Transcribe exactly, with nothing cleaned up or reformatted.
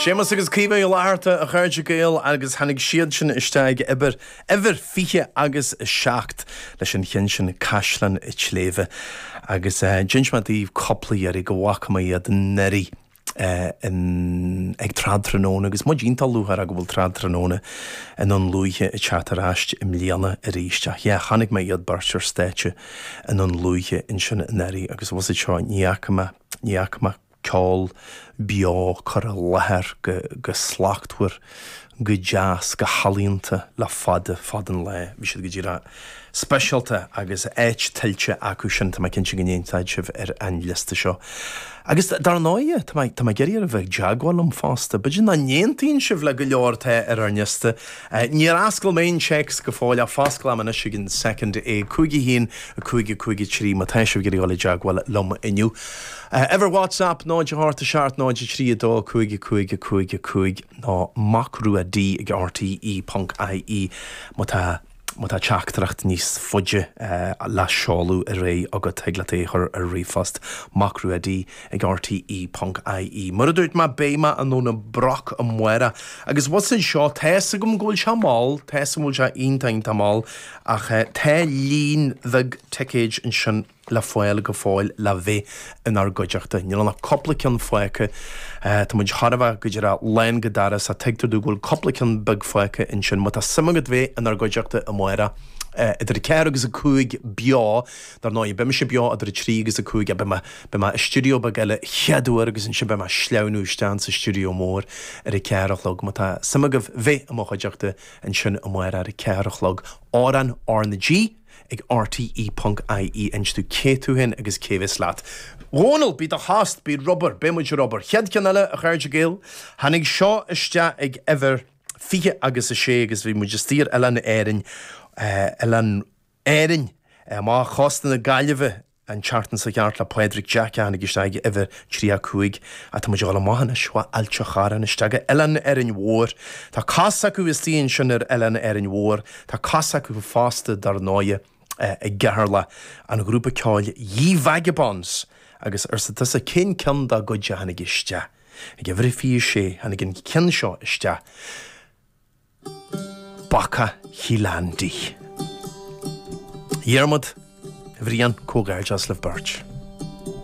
Séamus agus Caoimhe Uí Fhlatharta a chairde Gael agus tháinig siad sin isteach ag uimhir uimhir fiche agus a seacht leis an cheann sin Caisleán an tSléibhe agus uh, d'inis mé daoibh cúpla iarraidh go bhfaca mé iad anuraidh uh, in, ag tráthnóna agus muid iontach lúcháireach go bhfuil tráthnóna i nDún Lúiche ag teacht ar ais i mbliana arís ach yeah, chonaic mé iad beirt ar stáitse i nDún Lúiche ansin anuraidh agus was seo ní fhaca mé ní fhaca mé ceol beo curtha i láthair go, go slachtmhar go deas go healaíonta le fada fada an lá. Bhí siad go díreach speisialta agus áit tuillte acu sin tá cinnte go n-aontóidh sibh ar an liosta seo. Agus dar ndóigh tá tá mé ag iarraidh a bheith i dteagmháil liom fosta, B'fhéidir nach n-aontaíonn sibh le go leor atá ar ár liosta. Níor oscail mé an téacs go fóill ach fosclóidh mé anois ag an second é cúig a haon a cúig a cúig a trí má tá sibh ag iarraidh dul i dteagmháil liom inniu. Uimhir WhatsApp náid a hocht a seacht náid a trí a dó cúig a cúig a cúig a cúig ná macrua D ag RTE.ie má tá má tá teachtaireacht níos faide uh, le seoladh ar aghaidh agat thig leat é chur ar ríomhphost macrua D ag RTE.ie. Mar a dúirt mé beidh mé i nDún na Broc amárach agus was seo tá a fhios agam go bhfuil sé mall tá a fhios agam go bhfuil sé iontach mall ach uh, tá líon beag ticéid ansin le fáil go fóill le bheith inár gcuideachta. Níl ach cúpla ceann fágtha Tá muid thar a bheith go díreach lán go doras a tuigtear domh go bhfuil cúpla ceann beag fágtha ansin, má tá suim agat bheith inár gcuideachta amárach. idir ceathair agus a cúig beo dar ndóigh beidh mise beo idir a trí agus a cúig a be be i studio beag eile cheadúair agus ansin beidh mé ag sleamhnú isteach sa stiúideo mór ar a ceathair a chlog má tá suim agaibh bheith i mo chuideachta ansin amárach ar a ceathair a chlog Amhrán R na G ag RTE.ie inis domh cé tú féin agus cé bheas leat. Dhónal bí do thost bí rubber be muid rubber. Chéad cheann eile a chairde Gael, tháinig seo isteach ag uimhir fiche agus a sé agus bhí muid istigh ar Oileán Árainn Oileán Árainn amach chósta na Gaillimhe an tseachtain seo ceart le Pádraig Jack tháinig isteach ag uimhir trí a cúig a tá muid ag dul amach anois Ailt an Chorráin isteach go Oileán Árainn Mhór. Tá cos acu istigh ansin ar Oileán Árainn Mhór, Tá cos acu fosta dar ndóigh i gCeatharlach an grúpa ceoil Ye Vagabonds agus arsa tusa cén ceann dá gcuid a tháinig isteach. Ag uimhir fiche sé tháinig an ceann seo isteach. Bacach Chill Andy. Diarmuid, Bhrian comhghairdeas libh beirt.